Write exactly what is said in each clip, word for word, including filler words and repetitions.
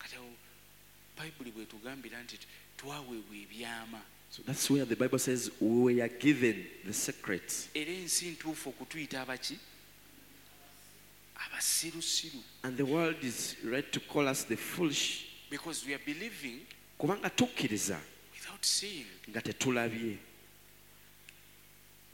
Kati awo Bayibuli bwetugambira nti twaweebwa ebyama. So that's where the Bible says we were given the secrets. Era ensi ntuufu okutuyita abaki? Abasirusiru. And the world is right to call us the foolish. Because we are believing Kubanga tukkiriza without seeing. nga tetulabye.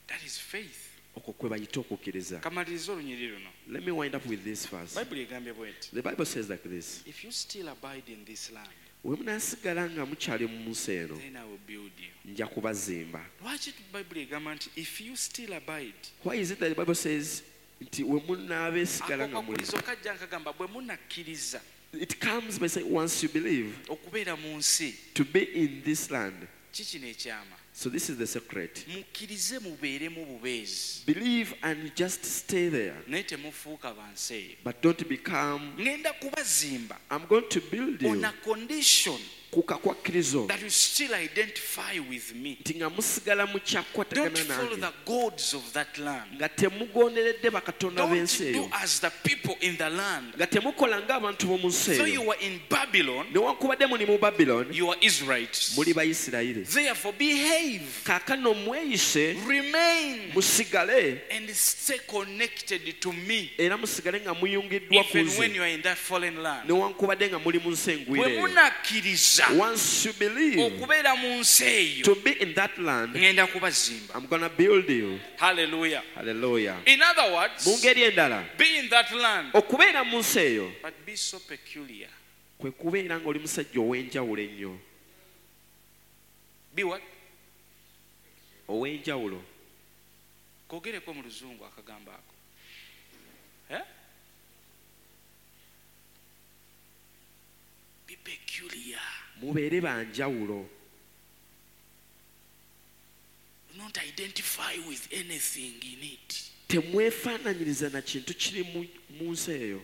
That is faith. Okwo kwe bayita okukkiriza. Kamaliriza olunyiriri luno. Let me wind up with this verse. Bayibuli egambye bw'eti. The Bible says like this. If you still abide in this land, We munaasigala nga mukyali mu nsi eno, then I will build you. nja kubazimba. Lwaki Bayibuli egamba nti if you still abide? Why is it that the Bible says nti we munaabeesigala Ako nga muli? kakulizo kajja nkagamba bwe munakkiriza It comes by saying once you believe okubeera mu nsi, to be in this land. kikino ekyama. So this is the secret. Mukkirize mubeeremu bubeezi. Believe and just stay there. Naye temufuuka ba nsi eyo. But don't become, Ngenda kubazimba I'm going to build on you a condition ku kakwakkirizo that you still identify with me. nti nga musigala Don't mukyakwatagana follow nange the gods of that land. nga temugonderedde bakatonda Don't b'ensi do eyo as the people in the land. nga temukola ng'abantu b'omu nsi Though eyo you were in Babylon, newankubadde muli mu Babylon you are Israelites. muli Bayisirayiri Therefore, behave, kaakano mweyise remain, musigale and stay connected to me. era musigale nga muyungiddwa ku Even when nze you are in that fallen land. newankubadde nga muli mu nsi engwire Bwe eyo munakkiriza Once you believe okubeera mu nsi eyo, to be in that land, ngenda kubazimba. I'm gonna build you. Hallelujah. Hallelujah. In other words, Mu ngeri endala be in that land, okubeera mu nsi eyo but be so peculiar. kwe kubeera ng'oli musajja ow'enjawulo ennyo. Be what? Ow'enjawulo. Kogereko mu luzungu akagambo ako. Eh? Be peculiar. Mubeere ba njawulo. Do not identify with anything in it. Temwefaananyiriza na kintu kiri mu, mu nsi eyo.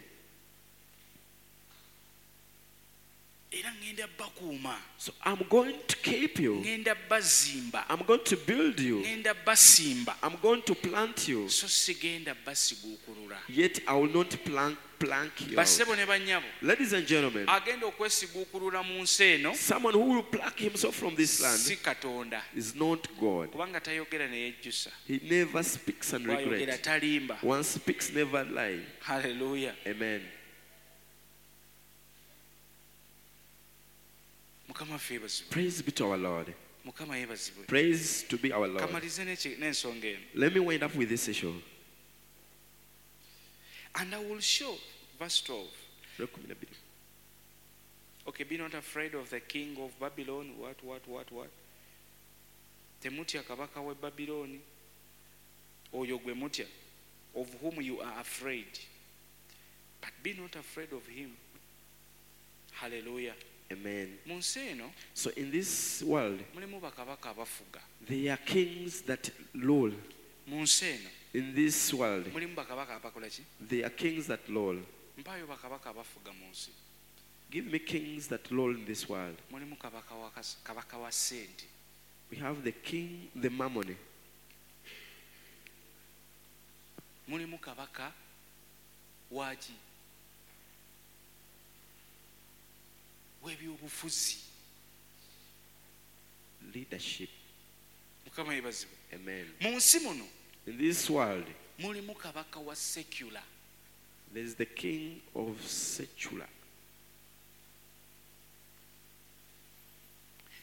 Era ngenda bakuuma. So I'm going to keep you. Ngenda bazimba. I'm going to build you. Ngenda basimba. I'm going to plant you. So sigenda basiguukulula. Yet I will not plank, plank you out. Bassebo ne bannyabo, Ladies and gentlemen, agenda okwesiguukulula mu nsi eno someone who will pluck himself from this land si Katonda. is not God. Kubanga tayogera ne yejjusa. He never speaks and Bw'ayogera regrets. talimba. One speaks, never lie. Hallelujah. Amen. Mukama waffe yeebazibwe. Praise be to our Lord. Mukama yeebazibwe. Praise to be our Lord. Kamalize n'eki- n'ensonga eno. Let me wind up with this issue. And I will show, verse twelve. Okay, be not afraid of the king of Babylon. What, what, what, what? Temutya kabaka w'e Babyloni. Oyo gwe mutya, of whom you are afraid. But be not afraid of him. Hallelujah. Amen. Mu nsi eno, So in this world, mulimu bakabaka abafuga. there are kings that rule. Mu nsi eno, In this world, mulimu bakabaka abakola ki? there are kings that rule. Mpaayo bakabaka abafuga mu nsi. Give me kings that rule in this world. Mulimu kabaka wa kas-, kabaka wa ssente. We have the king, the mammon. Mulimu kabaka wa ki? W'ebyobufuzi. Leadership. Mukama yeebazibwe. Amen. Mu nsi muno, In this world, mulimu kabaka wa secular. there is the king of secular.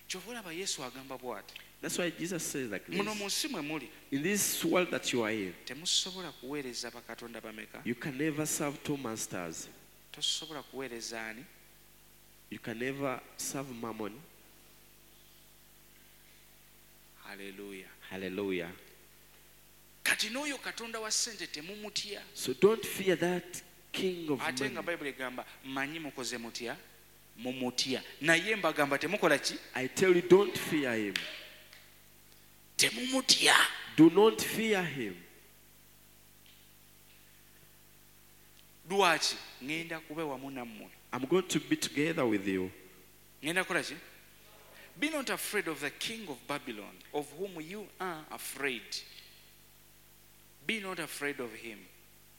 Kyova olaba Yesu agamba bw'ati. That's why Jesus says like Muno this. mu nsi mwe muli, In this world that you are in, temusobola kuweereza bakatonda bameka? you can never serve two masters. Tosobola kuweereza ani? You can never serve mammon. Hallelujah. Hallelujah. Kati n'oyo Katonda wa ssente temumutya. So don't fear that king of Ate nga money. Bayibuli egamba, mmanyi mukoze mutya? Mumutya. Naye mbagamba temukola ki? I tell you, don't fear him. Temumutya. Do not fear him. Lwaki? Ngenda kuba wamu nammwe. I'm going to be together with you. Ngenda kukola ki? Be not afraid of the king of Babylon, of whom you are afraid. Be not afraid of him,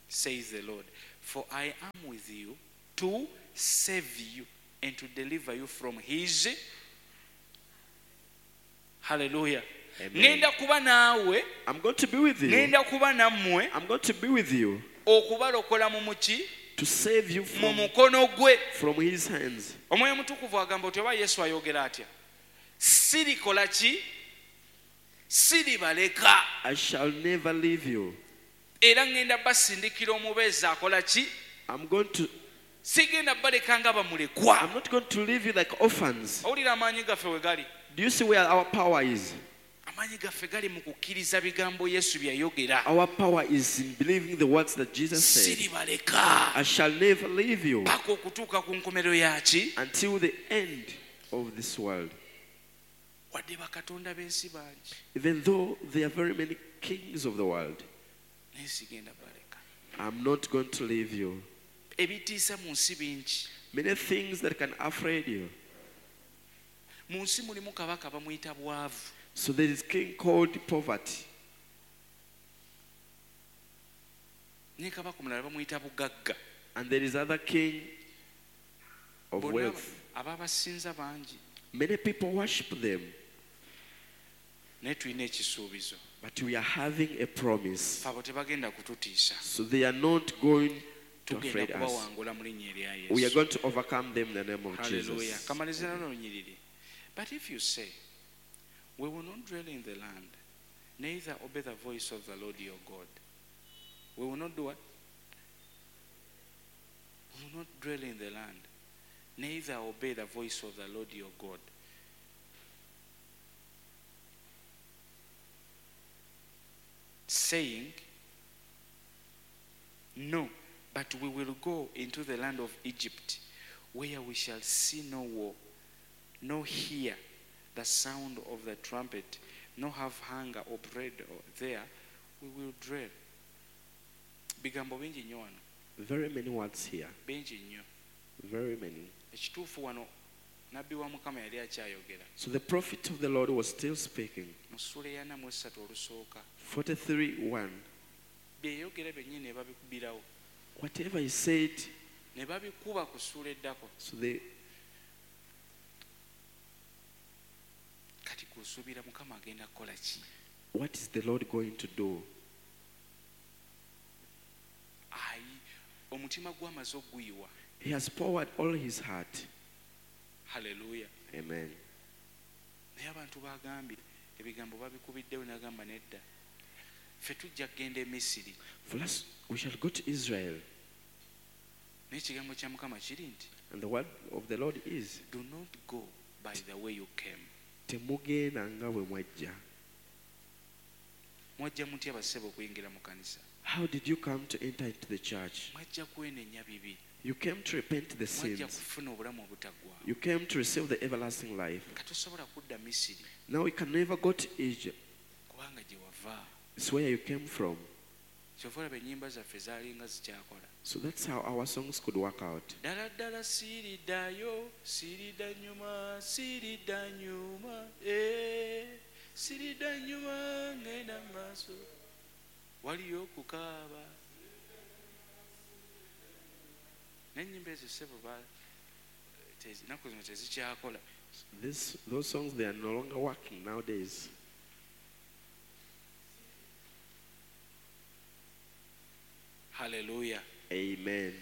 says the Lord, for I am with you to save you and to deliver you from his. Hallelujah. Amen. Ngenda kuba naawe. I'm going to be with you. Ngenda kuba nammwe. I'm going to be with you. Okubalokola mu muki? To save you Mu from, mukono gwe. from his hands. Omwoyo Mutukuvu agamba oti oba Yesu ayogera atya? Sirikola ki? Siribaleka. I shall never leave you. Era ngenda basindikira omubeezi akola ki? I'm going to Sigenda baleka nga bamulekwa. I'm not going to leave you like orphans. Owulira amaanyi gaffe we gali? Do you see where our power is? Amaanyi gaffe gali mu kukkiriza bigambo Yesu bye yayogera. Our power is in believing the words that Jesus said. Siribaleka. I shall never leave you Paka okutuuka ku nkomerero yaki? until the end of this world. Wadde bakatonda b'ensi bangi. Even though there are very many kings of the world, Naye sigenda baleka. I'm not going to leave you. Ebitiisa mu nsi bingi. Many things that can afraid you. Mu nsi mulimu kabaka bamuyita bwavu. So there is king called poverty. Ne kabaka omulala bamuyita bugagga. And there is other king of Bonna wealth. ababasinza bangi. Many people worship them. Naye tulina ekisuubizo. But we are having a promise. Ffe abo tebagenda kututiisa. So they are not going to Tugenda afraid us. kubawangula mu linnya erya We are Yesu. going to overcome them in the name of Hallelujah. Jesus. Kamaliza nalo lunyiriri. But if you say, we will not dwell in the land, neither obey the voice of the Lord your God. We will not do what? We will not dwell in the land, neither obey the voice of the Lord your God. Saying, no, but we will go into the land of Egypt, where we shall see no war, nor hear the sound of the trumpet, nor have hunger or bread there, we will dwell. Bigambo bingi nnyo wano. Very many words here. Bingi nnyo. Very many. Ekituufu wano nabbi wa Mukama yali akyayogera. So the prophet of the Lord was still speaking. Mu ssuula ey'ana mu essatu olusooka. forty-three one. Bye yayogera byennyini ne babikubirawo. Whatever he said, Ne babikuba ku ssuula eddako. so they Kati gw'osuubira Mukama agenda kukola ki? What is the Lord going to do? Ayi, omutima gw'amaze okuguyiwa. He has poured all his heart. Hallelujah. Amen. Naye abantu bagambye ebigambo babikubiddewo n'agamba nedda. Ffe tujja kugenda e Misiri. For us, we shall go to Israel. Naye ekigambo kya Mukama kiri nti, And the word of the Lord is, do not go by the way you came. Temugenda nga bwe mwajja. Mwajja mutya bassebo okuyingira mu kanisa? How did you come to enter into the church? Mwajja kwenenya bibi. You came to repent the Mwajja sins. kufuna obulamu obutaggwaawo. You came to receive the everlasting life. Katosobola kudda Misiri Now you can never go to Egypt. kubanga gye wava. It's where you came from. Kyova olaba ennyimba zaffe zaalinga zikyakola. So that's how our songs could work out. Ddala ddala siriddayo, siridda nnyuma, siridda nnyuma, eh, siridda nnyuma ngenda mu maaso. Waliyo okukaaba. N'ennyimba ezo ssebo ba- tezi- ennaku zino tezikyakola. This, those songs, they are no longer working nowadays. Hallelujah. Amen.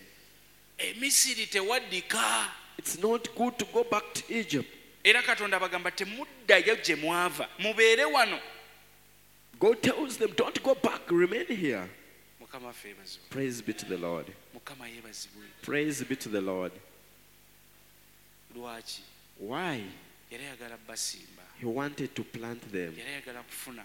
Emisiri tewaddika. It's not good to go back to Egypt. Era Katonda abagamba temuddayo gye mwava, mubeere wano. God tells them, don't go back, remain here. Mukama waffe yeebazibwe. Praise be to the Lord. Mukama yeebazibwe. Praise be to the Lord. Lwaki? Why? Yali ayagala basimba. He wanted to plant them. Yali ayagala kufuna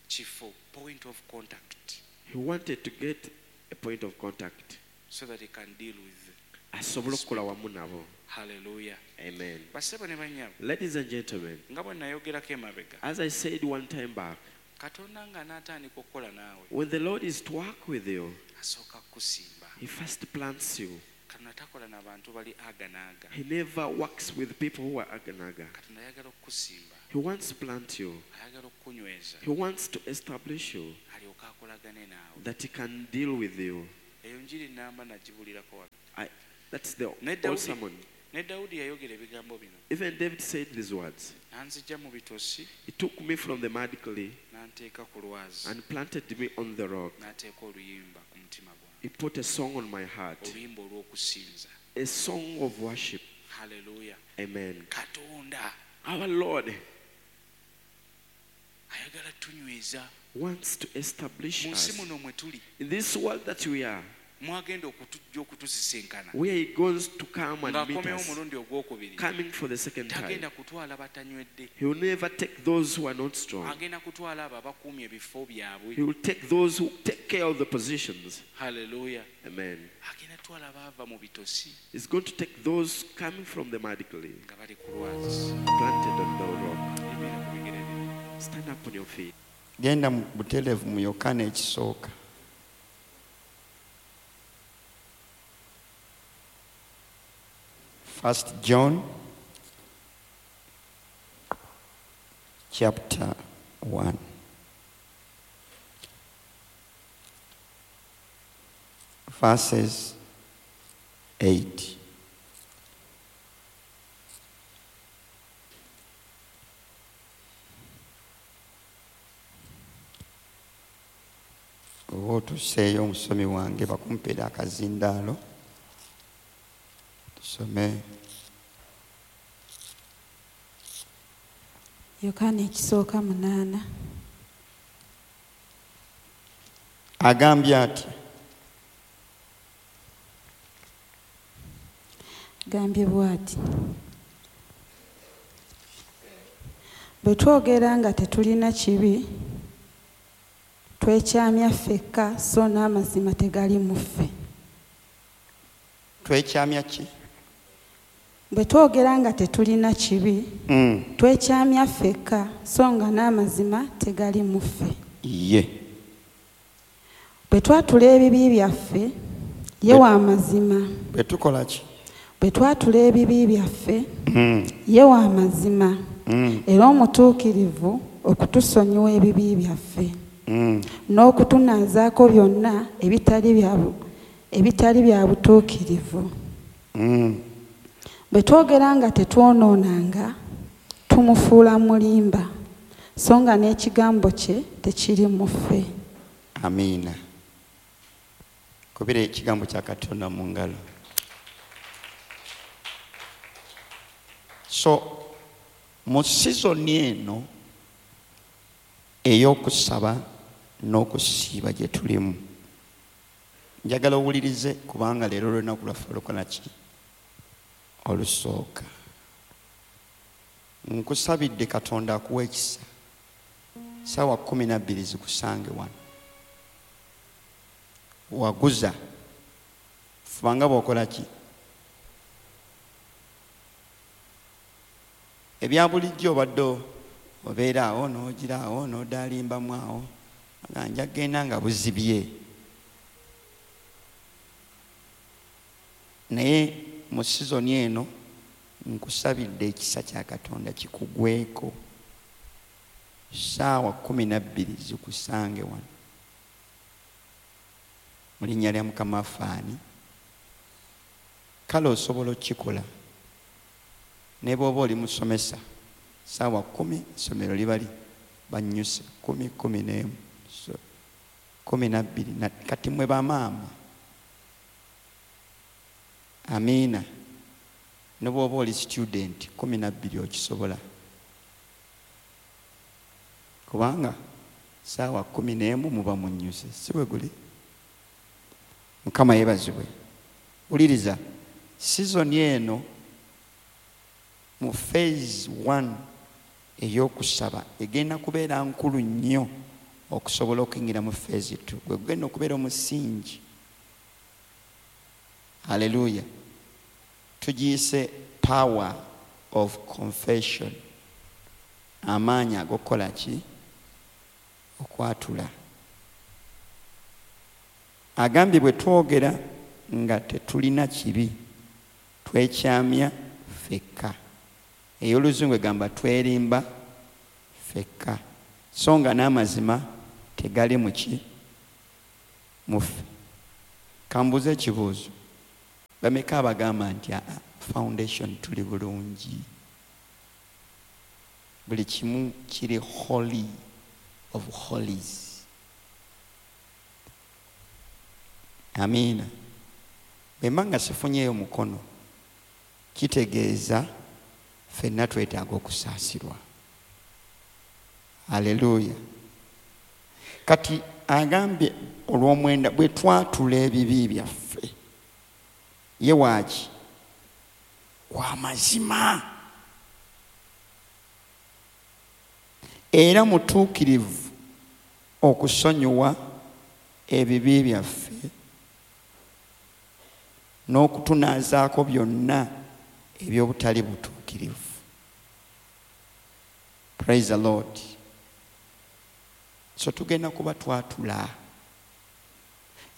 kifo, point of contact, He wanted to get a point of contact. so that he can deal with. Asobole okukola wamu nabo. Hallelujah. Amen. Bassebo ne bannyabo, Ladies and gentlemen, nga bwe nayogerako emabega, as I said one time back, Katonda ng'anaatandika okukola naawe, when the Lord is to work with you, asooka kukusimba. He first plants you. Katonda takola n'abantu bali aga n'aga. He never works with people who are aganaga. Katonda ayagala okukusimba, He wants to plant you. ayagala okukunyweza, He wants to establish you alyoke akolagane naawe. that he can deal with you. Eyo njiri nnamba nagibulirako wano. I, that's the Ne old Dawudi sermon. Ne Dawudi yayogera ebigambo bino. Even David said these words. N'anzija mu bitosi. He took me from the mud clay n'anteeka ku lwazi and planted me on the rock. N'ateeka oluyimba ku mutima gwange. He put a song on my heart. Oluyimba olw'okusinza. A song of worship. Hallelujah. Amen. Katonda our Lord ayagala tunyweza wants to establish mu nsi us muno mwe tuli in this world that we are, mwagenda okutujja okutusisinkana where he goes to come and meet ng'akomyewo us, omulundi ogwokubiri coming for the second time. Tagenda kutwala batanywedde. He will never take those who are not strong. Agenda kutwala abo abakuumye ebifo byabwe. He will take those who take care of the positions. Hallelujah. Amen. Agenda kutwala abaava mu bitosi He's going to take those coming from the mud clay, nga bali ku lwazi. planted on the rock. Yimirira ku bigere byo. Stand up on your feet. Genda mu butereevu mu Yokaana ekisooka. First John chapter one. Verses eight. Oba otuseeyo omusomi wange bakumpeera akazindaalo tusome. Yokaana ekisooka munaana. Agambye ati Gambye bw'ati bwe twogera nga tetulina kibi twekyamya ffekka so n'amazima tegali mu ffe. Twekyamya ki? Bwe twogera nga tetulina kibi mm. twekyamya ffekka so nga n'amazima tegali mu ffe. Ye. Bwe twatula ebibi byaffe ye wa mazima. Bwe tukola ki? Bwe twatula ebibi byaffe mm. ye wa mazima mm. era omutuukirivu okutusonyiwa ebibi byaffe. Mm. N'okutunaazaako byonna ebitali bya ebitali bya butuukirivu. Mm. Bwe twogera nga tetwonoonanga tumufuula mulimba so nga n'ekigambo kye tekiri mu ffe. Amiina. Kubira ekigambo kya Katonda mu ngalo. So mu sizoni eno ey'okusaba n'okusiiba gye tulimu, njagala owulirize kubanga leero lunaku lwaffe olukola ki? Olusooka. Nkusabidde Katonda akuwa ekisa ssaawa kkumi na bbiri zikusange wano. Waguza fubanga bw'okola ki? Ebya bulijjo obadde obeera awo n'ogira awo n'odaalimbamu awo nga nja kugenda nga buzibye. Naye mu sizoni eno nkusabidde ekisa kya Katonda kikugweko ssaawa kkumi na bbiri zikusange wano mu linnya lya Mukama waffe ani. Kale osobola okukikola ne bw'oba oli musomesa ssaawa kkumi essomero liba li bannyuse kkumi kkumi n'emu so kkumi na bbiri kati mmwe bamaama. Amiina. Ne bw'oba oli student kkumi na bbiri okisobola kubanga ssaawa kkumi n'emu muba munnyuse, si bwe guli? Mukama yeebazibwe. Wuliriza, sizoni eno mu phase one ey'okusaba egenda kubeera nkulu nnyo okusobola okuyingira mu phase two. Gwe gugenda okubeera omusingi. Hallelujah. Tugiyise power of confession. Amaanyi ag'okukola ki? Okwatula. Agambye bwe twogera nga tetulina kibi twekyamya ffekka. Ey'oluzungu egamba twerimba ffekka so nga n'amazima tegali mu ki? Mu ffe. Kambuuze ekibuuzo. Bameka abagamba nti aa Foundation tuli bulungi. Buli kimu kiri holy of holies. Amiina. Bwe mba nga sifunyeeyo mukono, kitegeeza ffenna twetaaga okusaasirwa. Haleluya. Kati agambye olw'omwenda bwe twatula ebibi byaffe, ye waaki? Wa mazima era mutuukirivu okusonyiwa ebibi byaffe n'okutunaazaako byonna eby'obutali butuukirivu. Praise the Lord. So tugenda kuba twatula.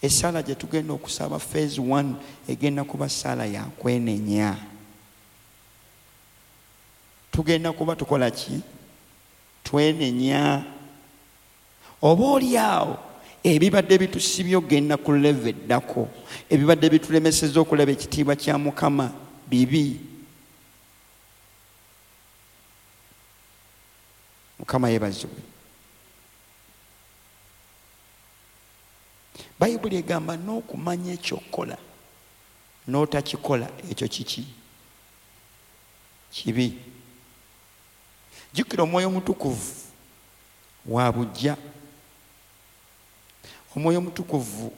Essala gye tugenda okusaba phase one egenda kuba ssaala ya kwenenya. Tugenda kuba tukola ki? Twenenya. Oba oli awo ebibadde bitusibye ogenda ku level eddako, ebibadde bitulemesezza okulaba ekitiibwa kya Mukama bibi. Mukama yeebazibwe. Bayibuli egamba n'okumanya ekyokukola n'otakikola ekyo kiki? Kibi. Jjukira Omwoyo Omutukuvu wa buggya. Omwoyo Omutukuvu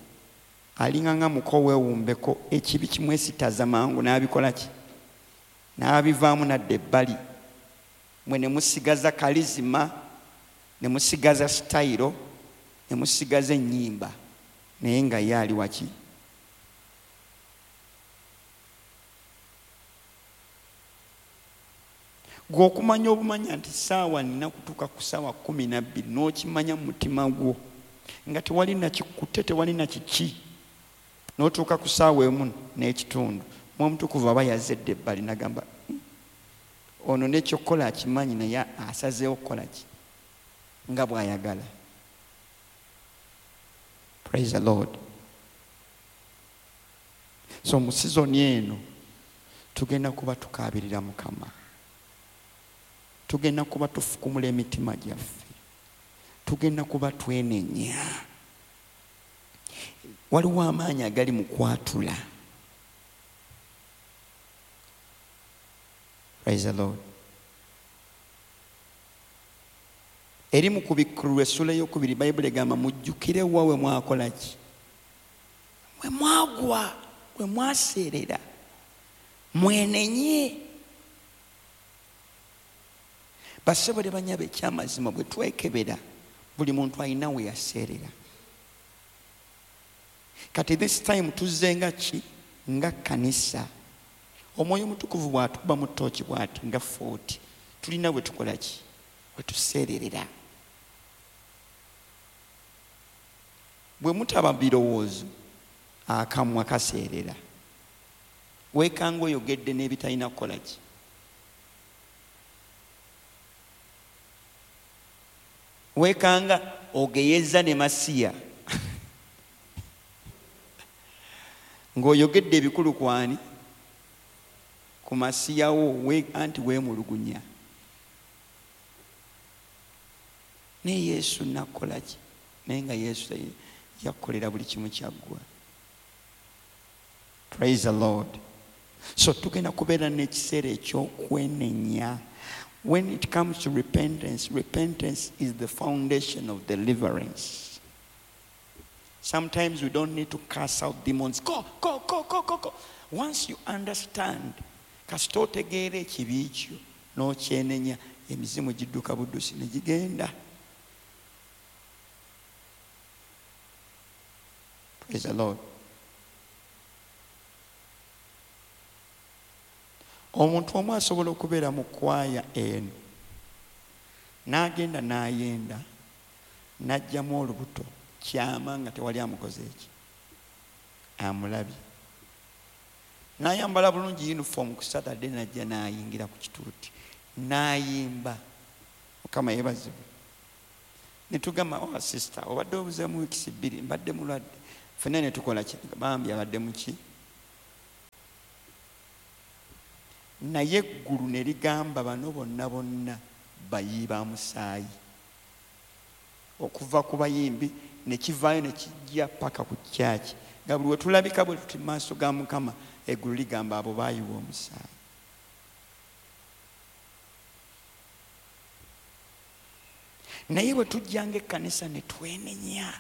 alinga nga muko weewumbeko, ekibi kimwesitaza mangu n'abikola ki? N'abivaamu n'adda ebbali. Mwe ne musigaza kalizima, ne musigaza sitayiro, ne musigaza ennyimba, naye nga ye ali waki? Gwe okumanya obumanya nti ssaawa nina kutuuka ku ssaawa kkumi na bbiri n'okimanya mu mutima gwo nga tewali nakikutte, tewali na kiki, n'otuuka ku ssaawa emu n'ekitundu, Omwoyo Omutukuvu aba yazedde ebbali n'agamba ono n'ekyokukola akimanyi naye asazeewo kukola ki nga bw'ayagala. Praise the Lord. So mu sizoni eno tugenda kuba tukaabirira Mukama, tugenda kuba tufukumula emitima gyaffe, tugenda kuba twenenya. Waliwo amaanyi agali mu kwatula. Praise the Lord. Eri mu kubikkulirwa essula ey'okubiri Bayibuli egamba mujjukire wa we mwakola ki? We mwagwa, we mwaseerera, mwenenye. Bassebo ne bannyabo, ekyamazima bwe twekebera buli muntu alina we yaseerera. Kati this time tuzze nga ki? Nga kkanisa. Omwoyo Omutukuvu bw'atukuba mu ttooki bw'ati nga forty, tulina we tukola ki? We tuseererera. Bwe mutaba birowoozo, akamwa kaseerera. Weekanga oyogedde n'ebitalina kukola ki? Weekanga ogeyeza ne Masiya ng'oyogedde ebikulu kwani? Ku Masiya wo, anti weemulugunya. Naye Yesu nakola ki? Naye nga Yesu yakukolera buli kimu kyaggwa. Praise the Lord. So tugenda kubeera n'ekiseera eky'okwenenya. When it comes to repentance, repentance is the foundation of deliverance. Sometimes we don't need to cast out demons. Go, go, go, go, go, go. Once you understand, kasita otegeera ekibi kyo n'okyenenya, emizimu gidduka buddusi ne gigenda. Praise the Lord. Omuntu omu asobola okubeera mu kwaya eno n'agenda n'ayenda n'aggyamu olubuto kyama nga tewali amukoze eki amulabye, n'ayambala bulungi uniform ku Saturday n'ajja n'ayingira ku kituuti n'ayimba. Mukama yeebazibwe. Ne tugamba, oh sister, obadde obuzeemu wiikisi bbiri, mbadde mulwadde. Ffenna ne tukola ki? Bambi abadde mu ki? Naye eggulu ne ligamba bano bonna bonna bayiyi ba musaayi. Okuva ku bayimbi ne kivaayo ne kijja paka ku kyaki. Nga buli we tulabika bwe tuti mu maaso ga Mukama, eggulu ligamba abo baayiwa omusaayi. Naye bwe tujjanga ekkanisa ne twenenya,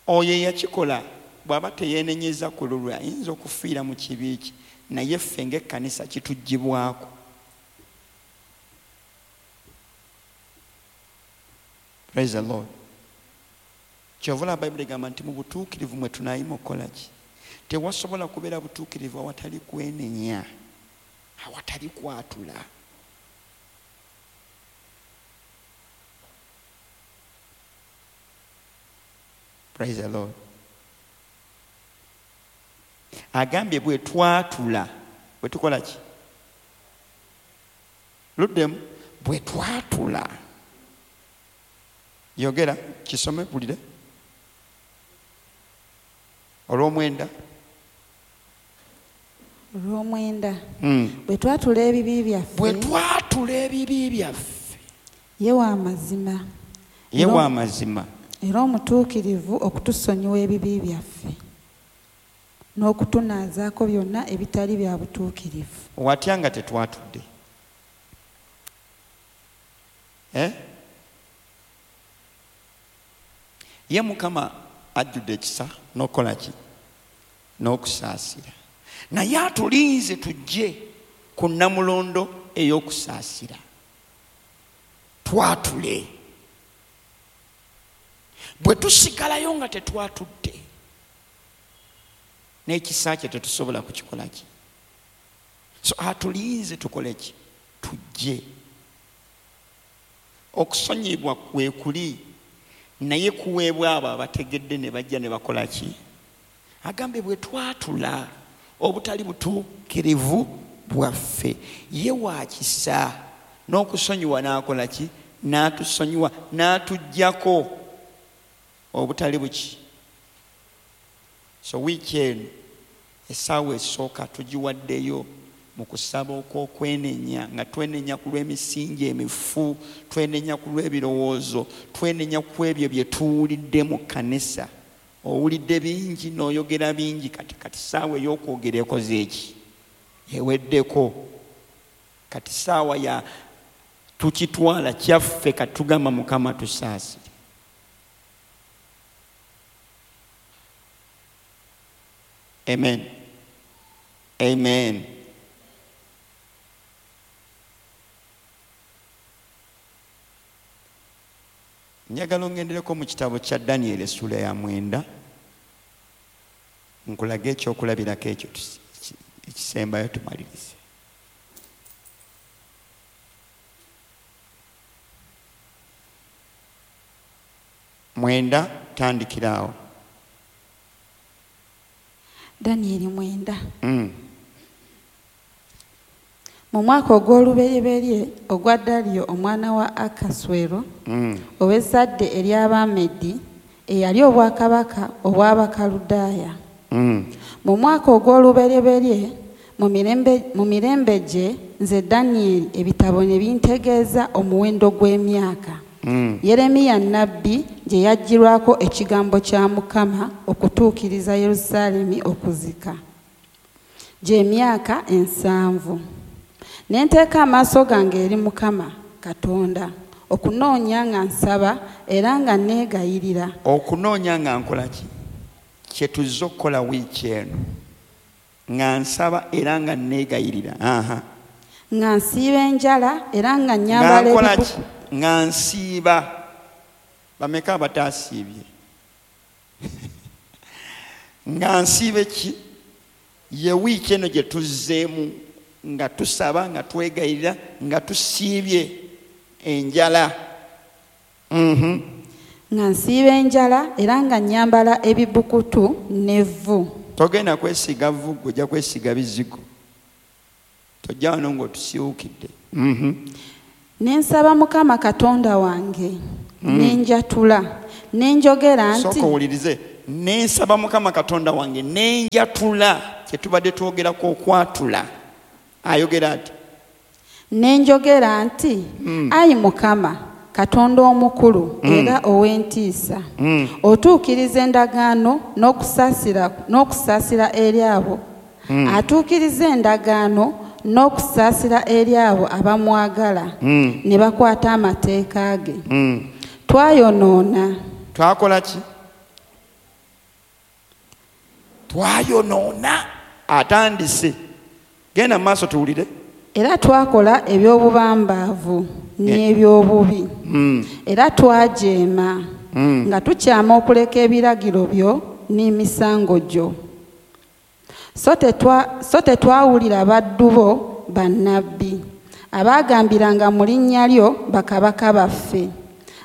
oyo eyakikola bw'aba teyeenenyeza ku lulwe ayinza okufiira mu kibi kye, naye ffe ng'ekkanisa kituggyibwako. Praise the Lord. Kyova olaba Bayibuli egamba nti mu butuukirivu mwe tunaayima okukola ki? Tewasobola kubeera butuukirivu awatali kwenenya, awatali kwatula. Praise the Lord. Agambye bwe twatula, bwe tukola ki? Luddemu, bwe twatula. Yogera, kisome mpulire. Olw'omwenda. Olw'omwenda. Mm. Bwe twatula ebibi byaffe. Bwe twatula ebibi byaffe. Ye wa mazima. Ye wa mazima. Era omutuukirivu okutusonyiwa ebibi byaffe n'okutunaazaako byonna ebitali bya butuukirivu. Watya nga tetwatudde? Eh? Ye Mukama ajjudde ekisa n'okukola ki? N'okusaasira. Naye atulinze tujje ku nnamulondo ey'okusaasira. Twatule. Bwe tusigalayo nga tetwatudde, n'ekisa kye tetusobola kukikola ki? So atulinze tukole ki? Tujje. Okusonyiyibwa kwe kuli, naye kuweebwa abo abategedde ne bajja ne bakola ki? Agambe bwe twatula obutali butuukirivu bwaffe, ye wa kisa n'okusonyiwa n'akola ki? N'atusonyiwa, n'atuggyako obutali buki. So wiiki eno essaawa esooka tugiwaddeyo mu kusaba okw'okwenenya, nga twenenya ku lw'emisingi emifu, twenenya ku lw'ebirowoozo, twenenya ku ebyo bye tuwulidde mu kkanisa. Owulidde bingi n'oyogera bingi, kati kati ssaawa ey'okwogera ekoze eki? Eweddeko. Kati ssaawa ya tukitwala kyaffe, kati tugamba Mukama tusaasire. Amen. Amen. Njagala ongendereko mu kitabo kya Daniel essuula ya mwenda, nkulage ekyokulabirako ekyo ekisembayo tumalirize. Mwenda, tandikira awo. Daniel mwenda. Mm. Mu mwaka ogw'olubereberye ogwa Daliyo omwana wa Akaswero, mm. ow'ezzadde ery'Abamedi, eyali obwakabaka obw'Abakaludaaya. Mm. Mu mwaka ogw'olubereberye mu mirembe, mu mirembe gye nze Daniel ebitabo ne bintegeeza omuwendo gw'emyaka. Mm. Yeremiya nnabbi gye yaggyirwako ekigambo kya Mukama okutuukiriza Yerusaalemi okuzika, gy'emyaka ensanvu. Ne nteeka amaaso gange eri Mukama Katonda okunoonya nga nsaba era nga neegayirira. Okunoonya nga nkola ki? Kye tuzze okukola wiiki eno. Nga nsaba era nga neegayirira. Aha. Nga nsiiba enjala era nga nnyambala Nga nkola ebibuku. ki? Nga nsiiba. Bameka abataasiibye? Nga nsiiba ki? Ye wiiki eno gye tuzzeemu nga tusaba, nga twegayirira, nga tusiibye enjala. Mhm. Nga nsiiba enjala era nga nnyambala ebibukutu n'evvu. Togenda kwesiiga vvu, ggwe ojja kwesiiga bizigo. Tojja wano ng'otusiiwukidde. Mhm. Ne nsaba Mukama Katonda wange, Mm. ne njatula, ne njogera nti Sooka owulirize. Ne nsaba Mukama Katonda wange, ne njatula. kye tubadde twogerako okwatula. Ayogera ati, ne njogera nti, ayi Mukama Katonda omukulu era ow'entiisa, otuukiriza endagaano n'okusaasira n'okusaasira eri abo atuukiriza endagaano n'okusaasira eri abo abamwagala ne bakwata amateeka ge. Twayonoona. Twakola ki? Twayonoona. Atandise. Genda mu maaso tuwulire. Era twakola eby'obubambaavu n'eby'obubi. Era twajeema nga tukyama okuleka ebiragiro byo n'emisango gyo. So tetwa so tetwawulira baddu bo bannabbi abaagambiranga mu linnya lyo bakabaka baffe,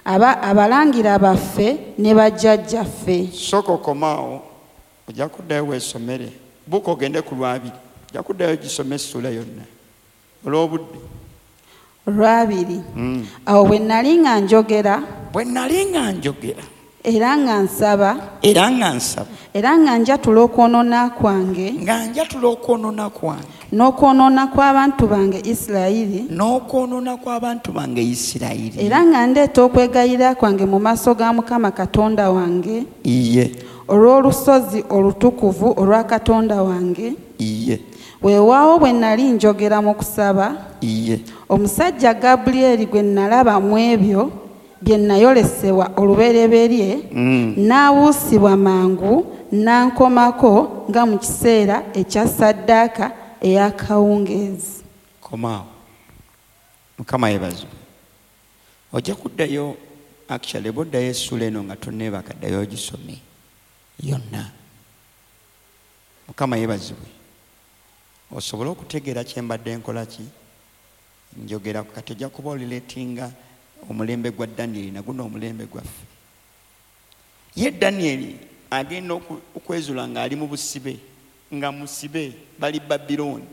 aba abalangira baffe ne bajjajjaffe. Sooka okomaawo, ojja kuddayo weesomere. Buuka ogende ku lwabiri, ojja kuddayo gisome essuula yonna olw'obudde. Olwabiri. Awo bwe nali nga njogera, bwe nali nga njogera, era nga nsaba, era nga nsaba, era nga njatula okwonoona kwange, nga njatula okwonoona kwange, n'okwonoona kw'abantu bange Isirayiri, n'okwonoona kw'abantu bange Isirayiri, era nga ndeeta okwegayirira kwange mu maaso ga Mukama Katonda wange, iye, olw'olusozi olutukuvu olwa Katonda wange, iye, weewaawo bwe nali njogera mu kusaba, iye, omusajja Gabulyeri gwe nalaba mu ebyo bye nayolesebwa olubereberye, n'abuusibwa mangu n'ankomako nga mu kiseera ekya ssaddaaka ey'akawungeezi. Komaawo. Mukama yeebazibwe. Ojja kuddayo, actually bw'oddayo essuula eno nga tonneebaka, ddayo ogisome yonna. Mukama yeebazibwe. Osobole okutegeera kye mbadde nkola ki njogera. Kati ojja kuba olireetinga omulembe gwa Danieli na guno omulembe gwaffe. Ye Danieli agenda okwezula ng'ali mu busibe, nga musibe, bali Babilooni.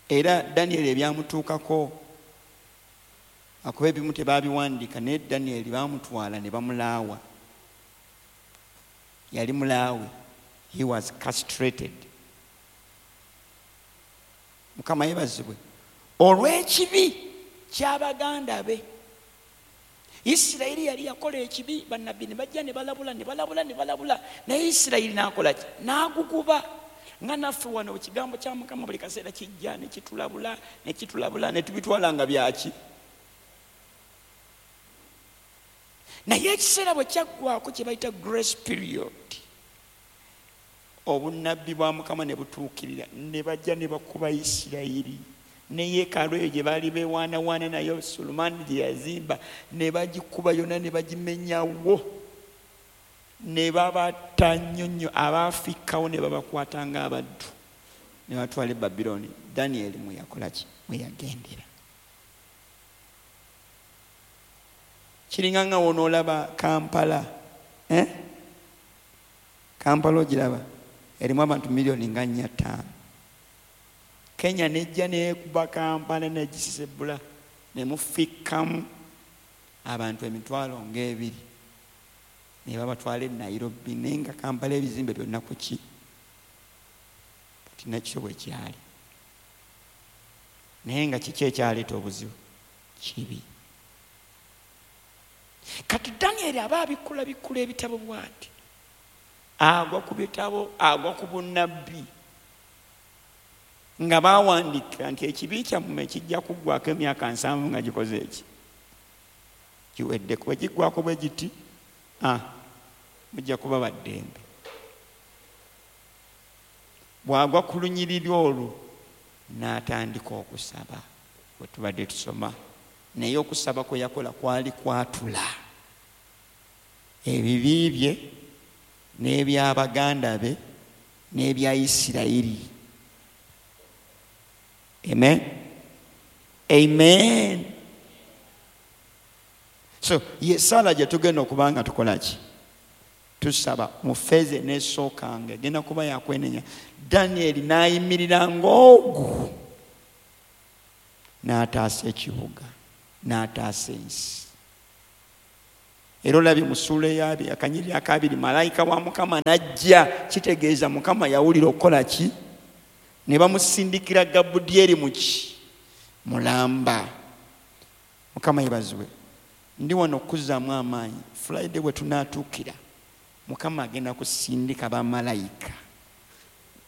Era Danieli ebyamutuukako akuba ebimu tebaabiwandiika, naye Danieli baamutwala ne bamulaawa. Yali mulaawe. He was castrated. Mukama yeebazibwe. Olw'ekibi ky'abaganda be. Isirayiri yali yakola ekibi, bannabbi ne bajja ne balabula ne balabula ne balabula, naye Isirayiri n'akola ki? N'aguguba. Nga naffe wano ekigambo kya Mukama buli kaseera kijja ne kitulabula ne kitulabula ne tubitwala nga byaki. Naye ekiseera bwe kyaggwako kye bayita grace period, obunnabbi bwa Mukama ne butuukirira, ne bajja ne bakuba Isirayiri. Ne yeekaalu eyo gye baali beewaanawaana nayo Sulemaani gye yazimba, ne bagikuba yonna ne bagimenyawo, ne babatta nnyo nnyo, abaafikkawo ne babakwata ng'abaddu ne batwala e Babilooni. Danieli mwe yakola ki? Mwe yagendera. Kiringa nga w'onoolaba Kampala, eh? Kampala ogiraba erimu abantu miliyoni nga nnya ttaano. Kenya nejja neekuba Kampala negisisebula ne mufikkamu abantu emitwalo ng'ebiri ne babatwala e Nairobi, naye nga Kampala ebizimbe byonna ku ki? Kati nakyo bwe kyali. Naye nga kiki ekyaleeta obuzibu? Kibi. Kati Danieli aba abikkula bikkula ebitabo bw'ati, agwa ku bitabo, agwa ku bunnabbi nga baawandiika nti ekibi kyammwe kijja kuggwako emyaka nsanvu nga gikoze eki kiwedde. Bwe kiggwako bwe giti, ah, mujja kuba baddembe. Bw'agwa ku lunyiriri olwo n'atandika okusaba, bwe tubadde tusoma. Naye okusaba kwe yakola kwali kwatula ebibi bye n'eby'abaganda be n'ebya Isirayiri. Amen. Amen. So ye sala gye tugenda okuba nga tukola ki? Tusaba mu feeze n'esookanga egenda kuba yakwenenya. Danieli n'ayimirira ng'ogu n'ataasa ekibuga, n'ataasa ensi. Era olabye mu ssuula ey'abiri akanyiriri akabiri, malayika wa Mukama n'ajja, kitegeeza Mukama yawulira okukola ki? Ne bamusindikira Gabudyeri mu ki? Mulamba. Mukama yeebazibwe. Ndi wano okuzzaamu amaanyi. Friday bwe tunaatuukira, Mukama agenda kusindika bamalayika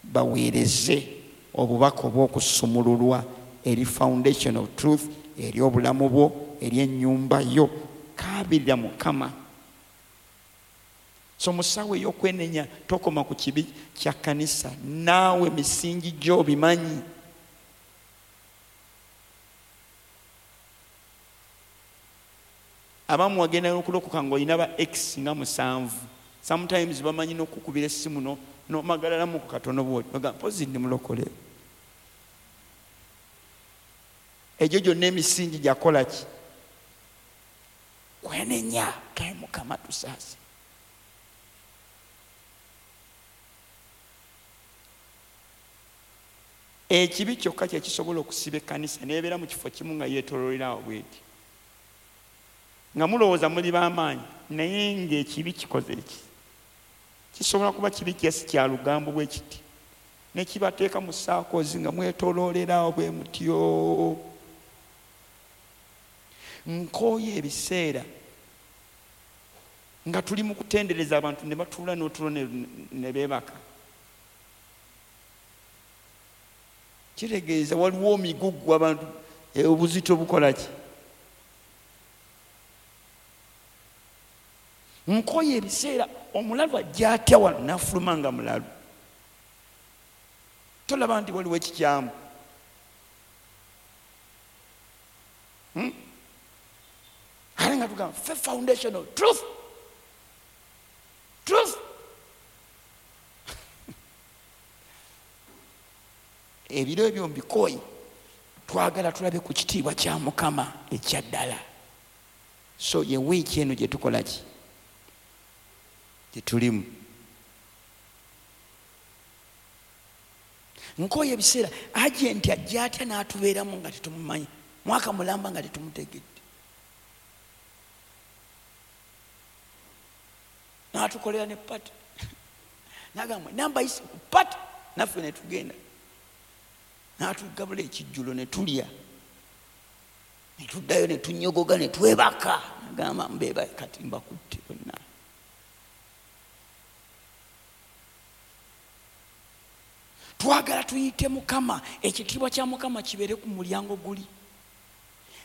baweereze obubaka obw'okusumululwa eri foundation of truth, eri obulamu bwo, eri ennyumba yo. Kaabirira Mukama. So mu ssaawa ey'okwenenya tokoma ku kibi kya kkanisa, naawe misingi gyo bimanyi. Abamu wagenda n'okulokoka ng'olina ba ex nga musanvu. Sometimes bamanyi n'okukubira essimu no n'omagalalamu ku katono bw'oti, ogamba mpozi ndi mulokole. Egyo gyonna emisingi gyakola ki? Kwenenya. Kaye Mukama tusaase. Ekibi kyokka kye kisobola okusiba ekkanisa n'ebeera mu kifo kimu nga yeetooloolera awo bw'eti, nga mulowooza muli b'amaanyi, naye ng'ekibi kikoze ki? Kisobola kuba kibi kyesi kya lugambo bwe kiti, ne kibateeka mu saakozi nga mwetooloolera awo bwe mutyo. Nkooye ebiseera nga tuli mu kutendereza abantu ne batuula n'otulo ne beebaka. Kitegeeza waliwo omigugu abantu obuzito bukola ki? Nkooye ebiseera omulalu ajja atya wano n'afuluma nga mulalu. Tolaba nti waliwo ekikyamu. Hmm? Ate nga tugamba ffe foundation of truth. Truth. Ebiro ebyo mbikooye, twagala tulabe ku kitiibwa kya Mukama ekya ddala. So ye wiiki eno gye tukola ki? Gye tulimu. Nkooye ebiseera agenti ajja atya n'atubeeramu nga tetumumanyi, mwaka mulamba nga tetumutegedde, n'atukolera ne pati, n'agamba namba yise ku pati, naffe ne tugenda, n'atugabula ekijjulo ne tulya, ne tuddayo ne tunyogoga ne twebaka, n'agamba mbeeba kati mbakutte bonna. Twagala tuyite Mukama, ekitiibwa kya Mukama kibeere ku mulyango guli,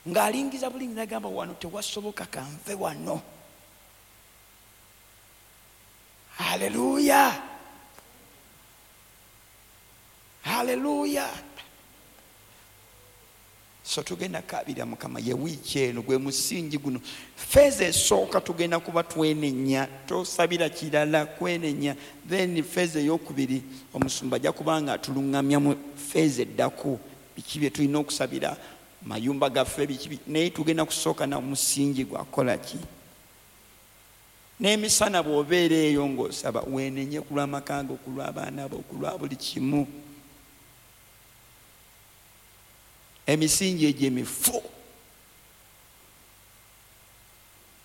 ng'alingiza bulingi n'agamba wano tewasoboka, kanve wano. Haleluya, haleluya. So tugenda kaabirira Mukama ye wiiki eno, gwe musingi guno. Feeza esooka tugenda kuba twenenya, tosabira kirala, kwenenya. Then feeza ey'okubiri omusumba ajja kuba nga atuluŋŋamya mu feeza eddako, biki bye tulina okusabira mayumba gaffe, biki. Naye tugenda kusooka na musingi gwakola ki? N'emisana bw'obeera eyo ng'osaba, weenenye ku lw'amaka go, ku lw'abaana bo, ku lwa buli kimu. Emisingi egyo emifu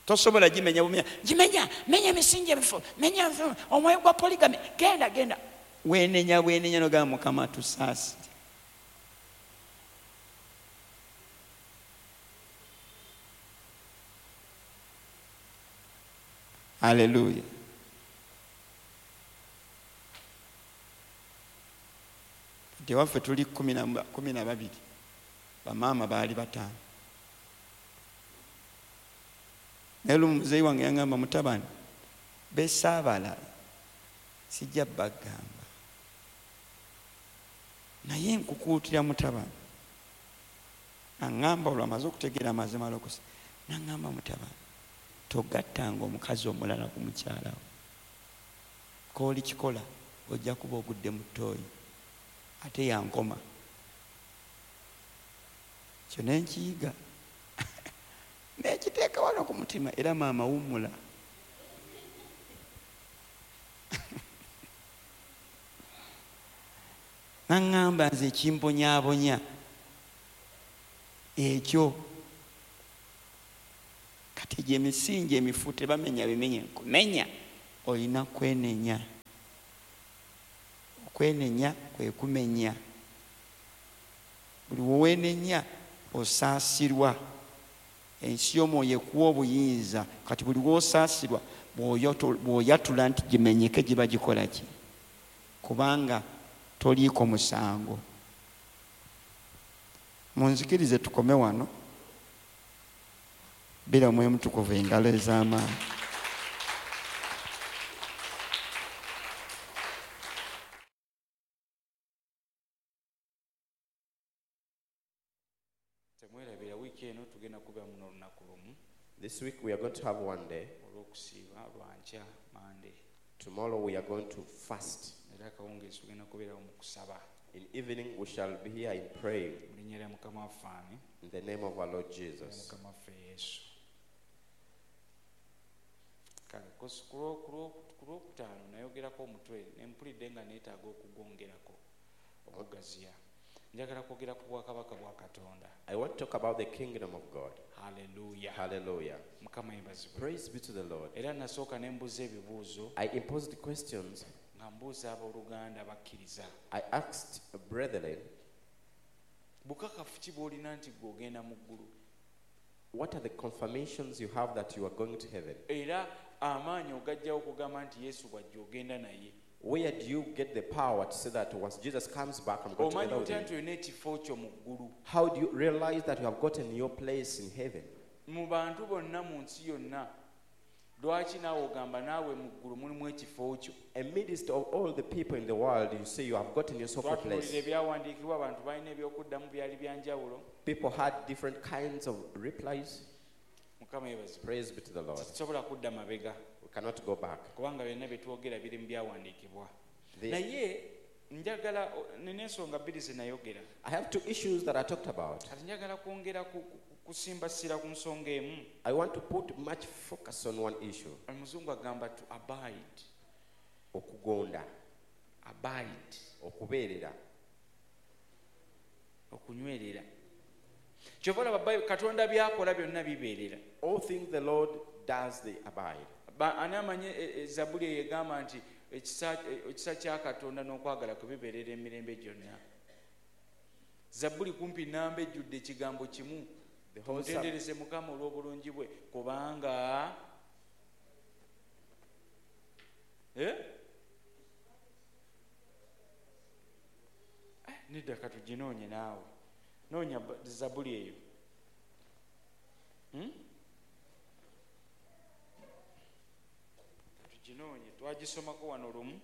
tosobola gimenya bumenya, gimenya, menya emisingi emifu, menya omwoyo gwa polygamy, genda genda. Weenenya bwenenya n'ogamba Mukama tusaasire. Haleluya. Kati ewaffe tuli kumi na babiri, bamaama baali bataano. Naye lumu muzeeyi wange yangamba, mutabani, besaabala sijja bagamba, naye nkukuutira mutabani. Aŋŋamba olwo amaze okutegeera amazima alokosa, n'aŋŋamba mutabani, togattanga omukazi omulala ku mukyala wo. K'oli kikola ojja kuba ogudde mu ttooyi, ate yankoma. Kyo ne nkiyiga nekiteeka wano ku mutima, era maama wummula. Naŋŋamba nze ekimponyaabonya ekyo. Kati egyo emisingi emifu tebamenya bimenye. Kumenya olina kwenenya. Okwenenya kwe kumenya. Buli w'owenenya osaasirwa. Ensi y'omwoyo ekuwa obuyinza. Kati buli w'osaasirwa bw'oyatula nti gimenyeke giba gikola ki? Kubanga toliiko musango. Munzikirize tukome wano. Bira Omwoyo Mutukuvu engalo ez'amaanyi. Temwerabira wiiki eno tugenda kubeera muno olunaku lumu. This week we are going to have one day. Olw'okusiiba lwankya Monday. Tomorrow we are going to fast. Era akawungeezi tugenda kubeerawo mu kusaba. In evening we shall be here in praying. Mu linnya lya Mukama waffe ani? In the name of our Lord Jesus. Mukama waffe Yesu. Kale ku lwokutaano nayogerako omutwe ne mpulidde nga neetaaga okugongerako okugaziya. Njagala kwogera ku bwakabaka bwa Katonda. I want to talk about the kingdom of God. Hallelujah. Hallelujah. Mukama yeebazibwe. Praise be to the Lord. Era nasooka ne mbuuza ebibuuzo. I imposed questions. Nga mbuuza abooluganda bakkiriza. I asked brethren, bukakafu ki bw'olina nti ggwe ogenda mu ggulu? What are the confirmations you have that you are going to heaven? Era amaanyi ogajjawo okugamba nti Yesu bw'ajja ogenda naye. Where do you get the power to say that once Jesus comes back, I'm going to go with him? Omanyi otya nti olina ekifo kyo mu ggulu? How do you realize that you have gotten your place in heaven? Mu bantu bonna mu nsi yonna, lwaki naawe ogamba naawe mu ggulu mulimu ekifo kyo? Amidst of all the people in the world, you say you have gotten yourself a Twatunuulira place. ebyawandiikibwa, abantu balina ebyokuddamu byali bya njawulo. People had different kinds of replies. Mukama yeebazibwe. Praise be to the Lord. Tetusobola kudda mabega. We cannot go back. Kubanga byonna bye twogera biri mu byawandiikibwa. The Naye njagala nina ensonga bbiri ze nayogera. I have two issues that I talked about. Kati njagala kwongera ku, ku, kusimba ssira ku nsonga emu. I want to put much focus on one issue. Omuzungu agamba to abide. Okugonda. Abide. Okubeerera. Okunywerera. Kyova olaba Bayibuli, Katonda by'akola byonna bibeerera. All things the Lord does, they abide. Ba-, ani amanyi, e, e, Zabbuli eyo egamba nti ekisa, e, ekisa kya Katonda n'okwagala kwe bibeerera emirembe gyonna. Zabbuli kumpi nnamba ejjudde ekigambo kimu. The whole Psalm. Mutendereze Mukama olw'obulungi bwe, kubanga, eh? Eh, nedda katuginoonye naawe. Noonya ba-, Zabbuli eyo. Hmm? Tuginoonye, twagisomako wano lumu,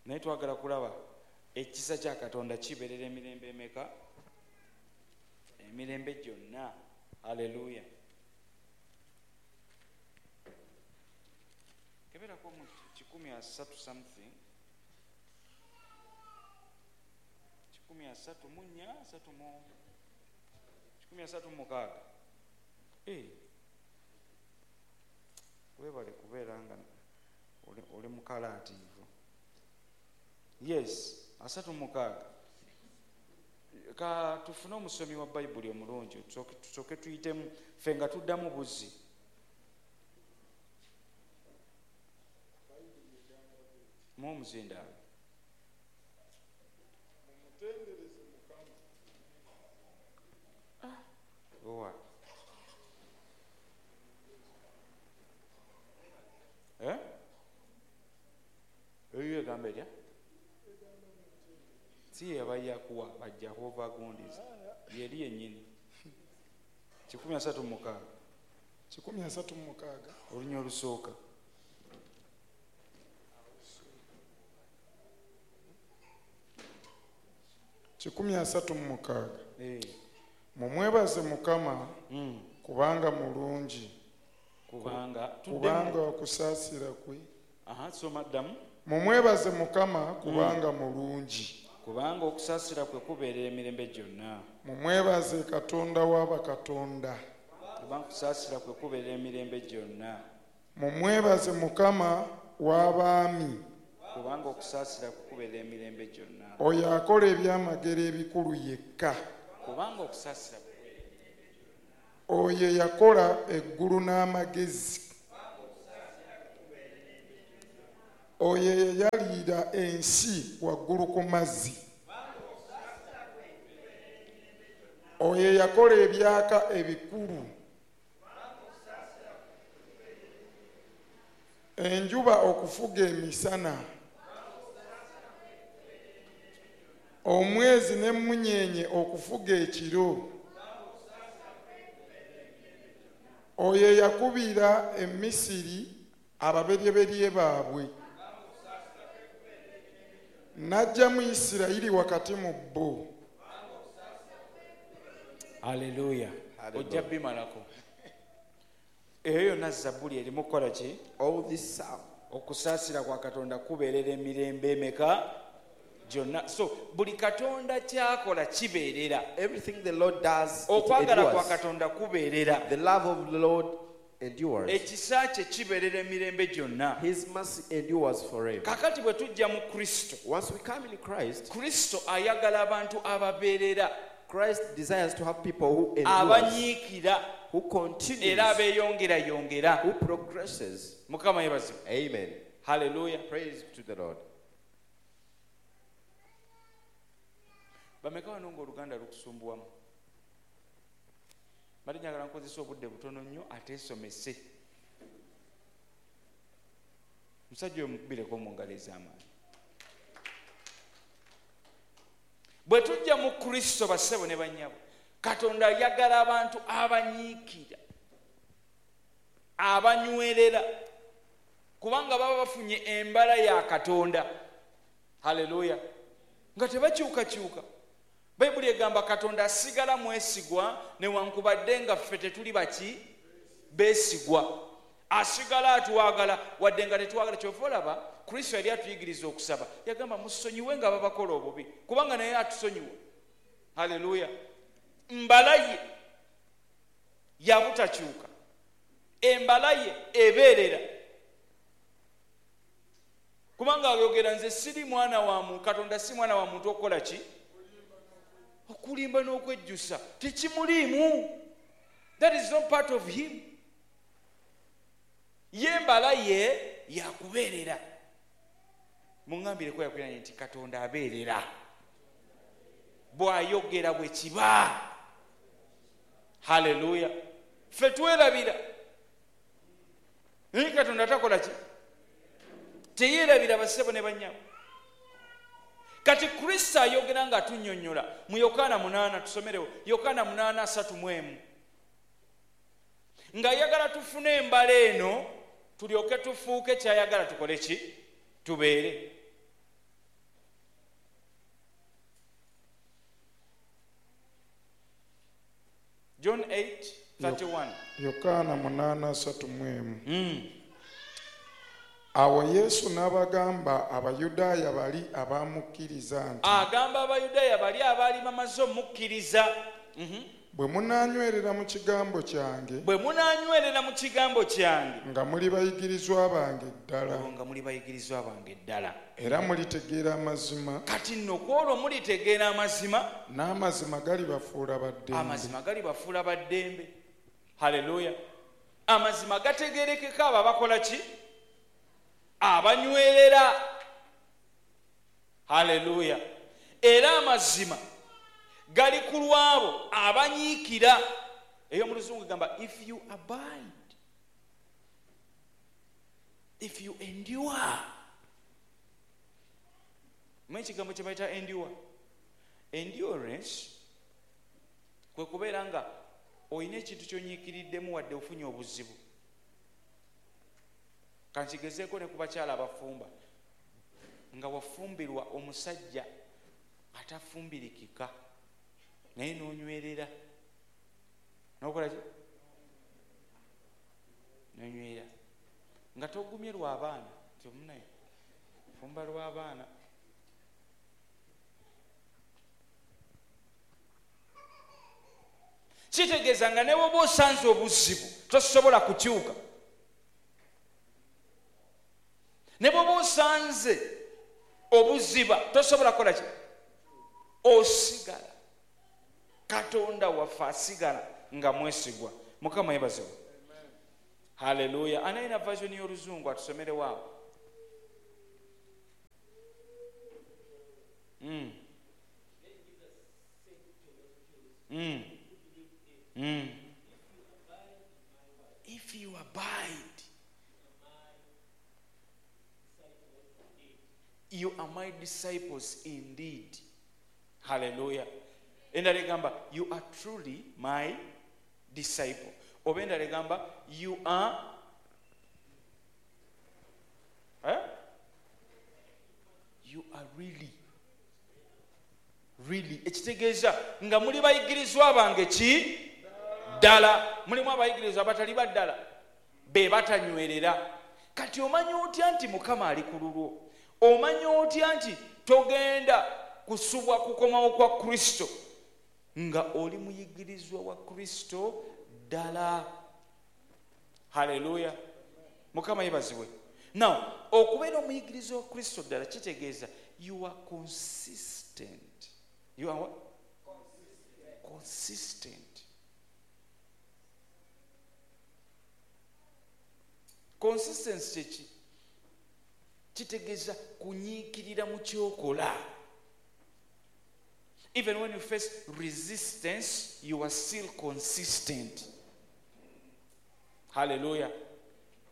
naye twagala kulaba ekisa kya Katonda kibeerera emirembe emeka? Emirembe gyonna. Hallelujah. Keberako mu kikumi asatu something. Kikumi asatu mu nnya, asatu mu, kikumi asatu mu mukaaga. Eh. Weebale kubeera nga oli, oli mukalaatiivu. Yes, asatu mu mukaaga. Ka tufune omusomi wa Bayibuli omulungi, tusooke, tusooke tuyitemu ffe nga tuddamu buzzi. Mu omuzindaalo. Mumutendereze Mukama. Ah, owa. Eh? Eyo egamba etya? Si ye abayakuwa ba Jehova gundiza. Yeri yennyini. Kikumi asatu mu mukaaga. Kikumi asatu mu mukaaga. Olunya olusooka. Kikumi asatu mu mukaaga. Eh. Mumwebaze Mukama, Mm. kubanga mulungi. Kubanga Kubanga tuddemu. okusaasira kwe. Aha, soma ddamu. Mumwebaze Mukama kubanga Mm. mulungi. Kubanga okusaasira kwe kubeerera emirembe gyonna. Mumwebaze Katonda w'abakatonda. Kubanga okusaasira kwe kubeerera emirembe gyonna. Mumwebaze Mukama w'abaami. Kubanga okusaasira kwe kubeerera emirembe gyonna. Oyo akola ebyamagero ebikulu yekka. Kubanga okusaasira kwe kubeerera emirembe gyonna. Oyo yakola eggulu n'amagezi. Oyo yayalira ensi waggulu ku mazzi. Oyo yakola ebyaka ebikulu. Enjuba okufuga emisana. Omwezi n'emmunyeenye okufuga ekiro. Oyo yakubira Emisiri ababeryeberye baabwe. N'aggyamu Isirayiri wakati mu bo. Haleluya. Ojja bimalako. Eyo yonna zabbuli erimu kukola ki? All this psalm. Okusaasira kwa Katonda kubeerera emirembe emeka gyonna. So buli Katonda ky'akola kibeerera. Everything the Lord does, it Okwagala kwa endures. Katonda kubeerera. The love of the Lord endures. Ekisa kye kibeerera emirembe gyonna. His mercy endures forever. Kakati bwe tujja mu Kristo, Once we come in Christ, Kristo ayagala abantu ababeerera, Christ desires to have people who endures, abanyiikira, who continues, era abeeyongerayongera. who progresses. Mukama yeebazibwe. Amen. Haleluya. Praise to the Lord. Bameka wano ng'Oluganda lukusumbuwamu? Mbadde njagala nkozesa obudde butono nnyo ate nsomese. Musajja oyo mukubireko mu ngalo ez'amaanyi. Bwe tujja mu Kristo bassebo ne bannyabo, Katonda ayagala abantu abanyiikira, abanywerera, kubanga baba bafunye embala ya Katonda. Haleluya. Nga tebakyukakyuka. Bayibuli egamba Katonda asigala mwesigwa newankubadde nga ffe tetuli baki beesigwa. Asigala atwagala wadde nga tetwagala. Kyova olaba Kristo yali atuyigiriza okusaba, yagamba musonyiwe nga babakola obubi, kubanga naye atusonyiwa. Haleluya. Mbala ye yabutakyuka, embala ye ebeerera, kubanga ayogera nze siri mwana wa muntu, Katonda si mwana wa muntu okukola ki? Okulimba n'okwejjusa tekimuliimu. That is not part of him. Ye embala ye yakubeerera. Muŋŋambireko yakuliranye nti Katonda abeerera, bw'ayogera bwe kiba. Haleluya. Ffe twerabira, naye Katonda takola ki? Teyeerabira bassebo ne bannyabo. Kati Kristo ayogera nga atunnyonnyola mu Yokaana munaana, tusomerewo Yokaana munaana asatu mu emu, ng'ayagala tufune embala eno tulyoke tufuuke ky'ayagala tukole ki? Tubeere. John eight thirty-one. Yokaana munaana asatu mu emu. Mm. Awo Yesu n'abagamba Abayudaaya bali abamukkiriza nti, agamba Abayudaaya bali abaali bamaze omukkiriza, mm-hmm. bwe munaanywerera mu kigambo kyange, bwe munaanywerera mu kigambo kyange, nga muli bayigirizwa bange ddala, nga muli bayigirizwa bange ddala, era mulitegeera amazima. Kati nno ku olwo mulitegeera amazima, n'amazima galibafuula baddembe. Amazima galibafuula baddembe. Haleluya. Amazima gategeerekeka abo abakola ki? Abanywerera. Haleluya. Era amazima gali ku lwabo abanyiikira. Eyo mu Luzungu egamba if you abide, if you endure. Mmanyi ekigambo kye bayita endure. Endurance kwe kubeera nga olina ekintu ky'onyiikiriddemu wadde ofunye obuzibu. Kankigezeeko ne ku bakyala abafumba, nga wafumbirwa omusajja atafumbirikika naye n'onywerera, n'okola ki? N'onywerera nga togumye lw'abaana, nti omunaye fumba lw'abaana. Kitegeeza nga ne bw'oba osanze obuzibu tosobola kukyuka, ne bw'oba osanze obuziba tosobola kukola ki? Osigala. Katonda waffe asigala nga mwesigwa. Mukama yebazibwe. Haleluya. Anayina version y'oluzungu atusomerewo awo. Mm. Mm. Mm. If you abide, you are my disciples indeed. Hallelujah. Endala egamba, you are truly my disciple. Oba endala egamba, you are eh? You are really really. Ekitegeeza nga muli bayigirizwa bange ki ddala. Mulimu abayigirizwa abatali ba ddala, be batanywerera. Kati omanyi otya nti Mukama ali ku lulwo? Omanyi otya nti togenda kusubwa kukomawo kwa Kristo nga oli muyigirizwa wa Kristo ddala? Haleluya. Mukama yebazibwe. Now, okubeera omuyigirizwa wa Kristo ddala kitegeeza you are consistent. You are what? Consistent. Consistent. Consistency kyeki? Kitegeeza kunyiikirira mu ky'okola. Even when you face resistance, you are still consistent. Hallelujah.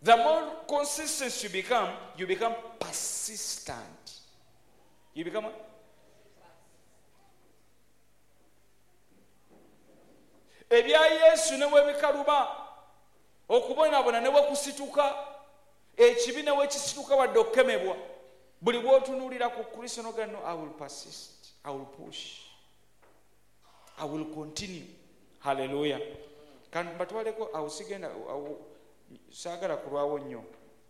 The more consistent you become, you become persistent. You become what? Ebya Yesu ne bwe bikaluba, okubonaabona ne bwe kusituka, ekibi ne bwe kisituka wadde okukemebwa, buli bw'otunuulira ku Kristo n'ogamba, no, I will persist, I will push, I will continue. Hallelujah. Kan batwaleko awo sigenda awo saagala kulwawo nnyo,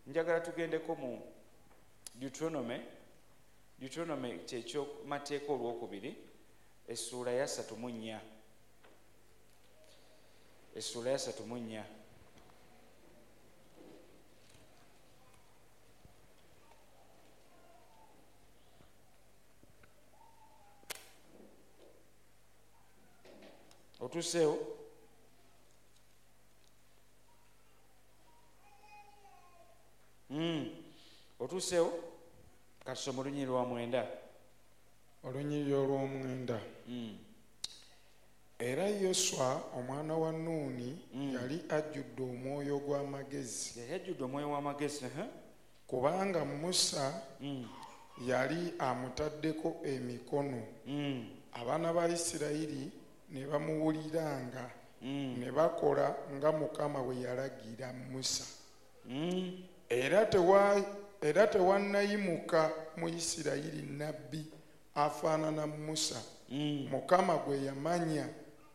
njagala tugendeko mu Deuteronomy. Deuteronomy kyekyomateeka olwokubiri essuula ya ssatu mu nnya. Essuula ya ssatu mu nnya. Otuuseewo? Mm. Otuuseewo? Katusome olunyiriri lwa mwenda. Olunyiriri olw'omwenda. Mm. Era Yoswa omwana wa Nuuni Mm. yali ajjudde omwoyo gw'amagezi, Yali ajjudde omwoyo w'amagezi. Uh-huh. kubanga Musa Mm. yali amutaddeko emikono. Mm. Abaana ba Isirayiri ne bamuwuliranga, Mm. ne bakola nga Mukama bwe yalagira Musa. Mm. Era tewa era tewannayimuka mu Isirayiri nnabbi afaanana Musa, Mm. Mukama gwe yamanya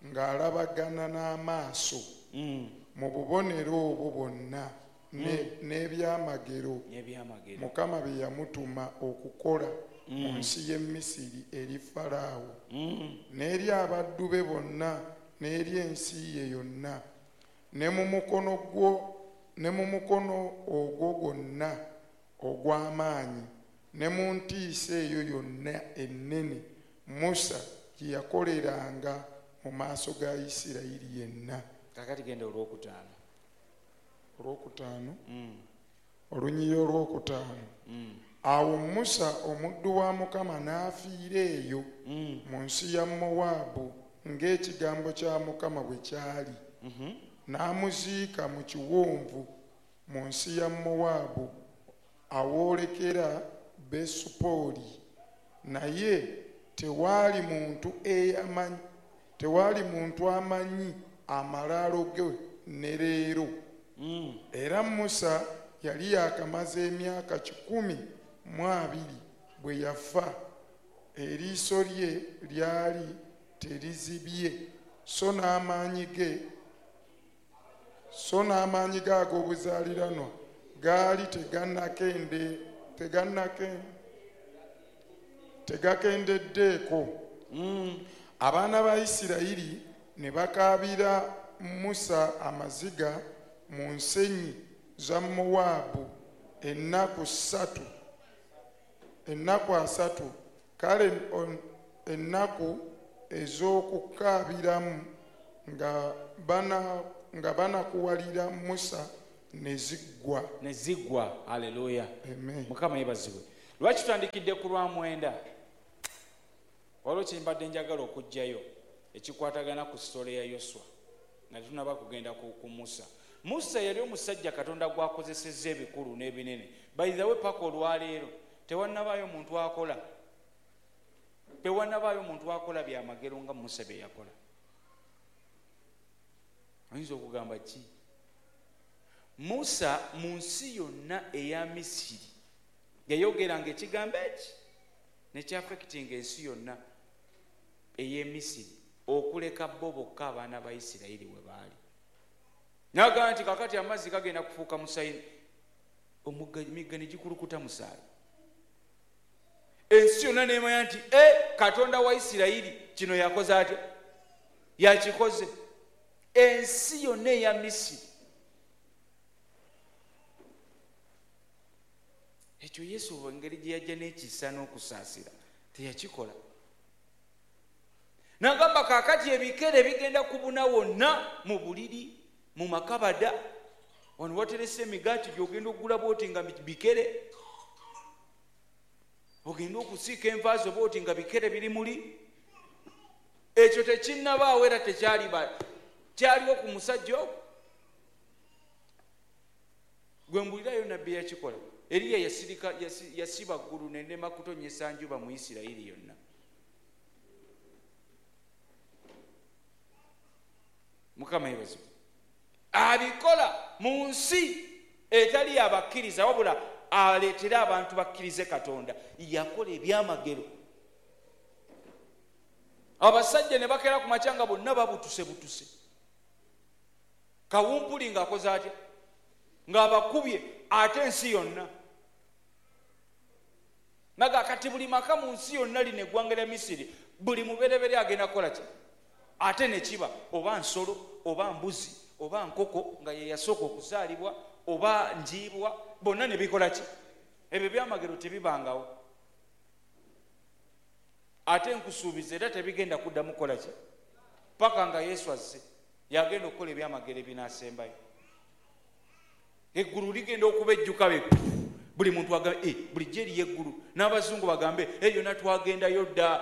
ng'alabagana n'amaaso Mm. mu bubonero obwo bwonna ne- n'ebyamagero N'ebyamagero. Mukama bye yamutuma okukola mu Mm. nsi y'e Misiri eri Falaawo Mm. n'eri abaddu be bonna n'eri ensi ye yonna, ne mu mukono gwo ne mu mukono ogwo gwonna ogw'amaanyi ne mu ntiisa eyo yonna ennene Musa gye yakoleranga mu maaso ga Isirayiri yenna. Kakati genda olwokutaano. Olwokutaano. Mm. Olunyiriri olwokutaano. Mm. Awo Musa omuddu wa Mukama n'afiira eyo Mm. mu nsi ya Mowaabu ng'ekigambo kya Mukama bwe kyali. Mhm. N'amuziika mu kiwonvu mu nsi ya Mowaabu awoolekera Besupooli. Naye tewaali muntu eyamanyi tewaali muntu amanyi amalaalo ge ne leero. Mm. Era Musa yali yaakamaze emyaka kikumi mu abiri bwe yafa, eriiso lye lyali terizibye, so n'amaanyi ge so n'amaanyi ge ag'obuzaaliranwa gaali tegannakende tegannake tegakendeddeeko. Mm. Abaana ba Isirayiri ne bakaabira Musa amaziga mu nsenyi za Mowaabu ennaku ssatu ennaku asatu, kale on- ennaku ez'okukaabiramu nga bana nga banakuwalira Musa ne ziggwa. Ne ziggwa. Haleluya. Amen. Mukama yeebazibwe. Lwaki tutandikidde ku lwa mwenda? Waliwo kye mbadde njagala okuggyayo ekikwatagana ku sitole ya Yoswa nga tetunnaba kugenda ku, ku Musa. Musa yali omusajja Katonda gw'akozesezza ebikulu n'ebinene. By the way, paka olwaleero tewannabaayo muntu akola tewannabaayo muntu akola byamagero nga Musa bye yakola. Oyinza okugamba ki? Musa mu nsi yonna eya Misiri yayogeranga ekigambo eki nekyafectinga ensi yonna ey'e Misiri okuleka bo bokka abaana ba Isirayiri we baali. N'agamba nti kakati amazzi gagenda kufuuka musaayi, omugga emigga ne gikulukuta musaayi. Ensi yonna n'emanya nti e Katonda wa Isirayiri kino yakoze atya? Yakikoze. Ensi yonna eya Misiri. Ekyo Yesu engeri gye yajja n'ekisa n'okusaasira teyakikola. N'agamba kaakati ebikere bigenda kubuna wonna mu buliri, mu makabada, wano waterese emigaati gy'ogenda okugula bw'oti nga bikere, ogenda okusiika enva zo bw'oti nga bikere biri muli. Ekyo tekinnabaawo era tekyaliba kyaliwo ku musajja ogwo. Gwe mbulirayo nabbi yakikola. Eriya yasirika yasiba ggulu n'erema kutonnyesa njuba mu Isirayiri yonna. Mukama yeebazibwe. Abikola mu nsi etali abakkiriza, wabula aleetera abantu bakkirize Katonda. Yakola ebyamagero. Abasajja ne bakeera ku makya nga bonna babutuse butuse. Kawumpuli ng'akoze atya? Ng'abakubye ate ensi yonna. Naga kati buli maka mu nsi yonna lino eggwanga lya Misiri, buli mubereberye agenda kukola ki? Ate ne kiba oba nsolo oba mbuzi oba nkoko nga ye yasooka okuzaalibwa oba njiibwa, bonna ne bikola ki? Ebyo byamagero tebibangawo. Ate nkusuubiza era tebigenda kuddamu kukola ki? Paka nga Yesu azze yagenda okukola ebyamagero ebinaasembayo. Eggulu ligenda okuba ejjuka be buli muntu agambe eh, bulijjo eriyo eggulu, n'abazungu bagambe eh, yonna twagendayo dda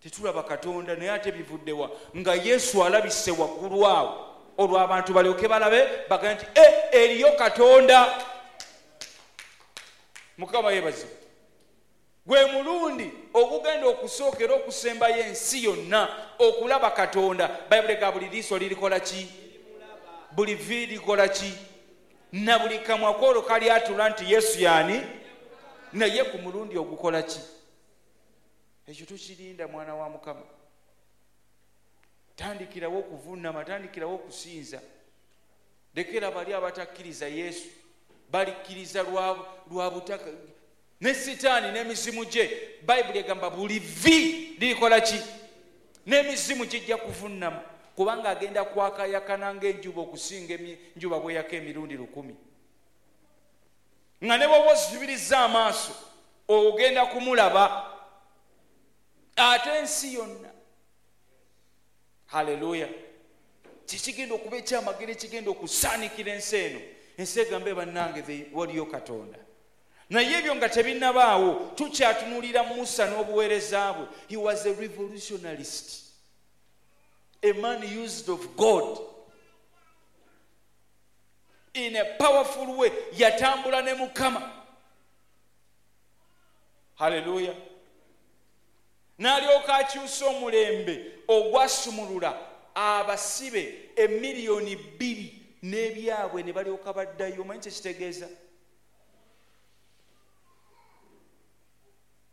tetulaba Katonda, naye ate bivuddewa nga Yesu alabise waggulu awo olwo abantu balyoke balabe bagambe nti eh, eriyo Katonda. Mukama yeebazibwe. Gwe mulundi ogugenda okusookera okusembayo ensi yonna okulaba Katonda. Bayibuli egamba buli liiso lirikola ki? Buli vvi likola ki? Na buli kamwa kwolwo kalyatula nti Yesu y'ani? Naye ku mulundi ogukola ki? Ekyo tukirinda mwana wa Mukama. Tandikirawo okuvunnama, tandikirawo okusinza. Lekera bali abatakkiriza Yesu balikkiriza lwa lwa butaka ne Sitaani n'emizimu gye. Bayibuli egamba buli vvi lirikola ki? N'emizimu gijja kuvunnama, kubanga agenda kwakayakana ng'enjuba okusinga enjuba bweyaka emirundi lukumi. Nga ne bw'oba ozibiriza amaaso ogenda kumulaba ate ensi yonna. Haleluya. Kikigenda okuba ekyamagero ekigenda okusaanikira ensi eno. Ensi egambe bannange waliyo Katonda. Naye ebyo nga tebinnabaawo tukyatunuulira Musa n'obuweereza bwe. He was a revolutionalist, a man used of God in a powerful way. Yatambula ne Mukama. Haleluya. N'alyoka akyusa omulembe ogwasumulula abasibe emiliyoni bbiri n'ebyabwe ne balyoka baddayo. Omanyi kye kitegeeza?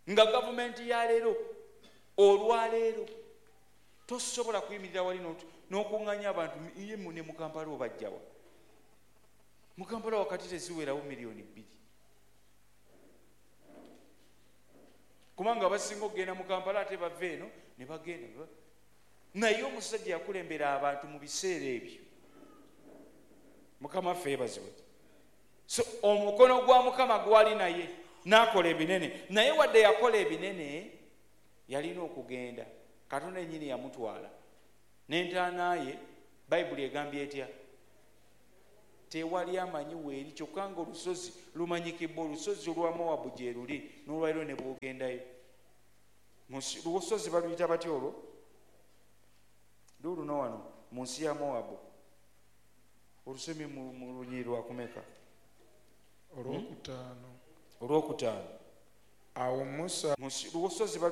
Nga gavumenti ya leero olwaleero tosobola kuyimirira wali n'okuŋŋaanya abantu ye ne mu Kampala obajjawa. Mu Kampala wakati teziwerawo miliyoni bbiri, kubanga abasinga okugenda mu Kampala ate bava eno ne bagenda. Naye omusajja yakulembera abantu mu biseera ebyo. Mukama waffe yeebazibwe. So omukono gwa Mukama gwali naye n'akola ebinene. Naye wadde yakola ebinene yalina okugenda. Katonda yennyini yamutwala. N'entaana ye Bayibuli egambye etya? Tewali amanyi weeri, kyokka nga olusozi lumanyikibwa, olusozi olwa Mowabu gye luli n'olwaliro ne bwogendayo. Lusozi baluyita batya olwo? Luuluno wano mu nsi ya Mowabu. Olusomye mu lunyiriri lwakumeka? Olwokutaano. Olwokutaano. Awo Musa Lusozi.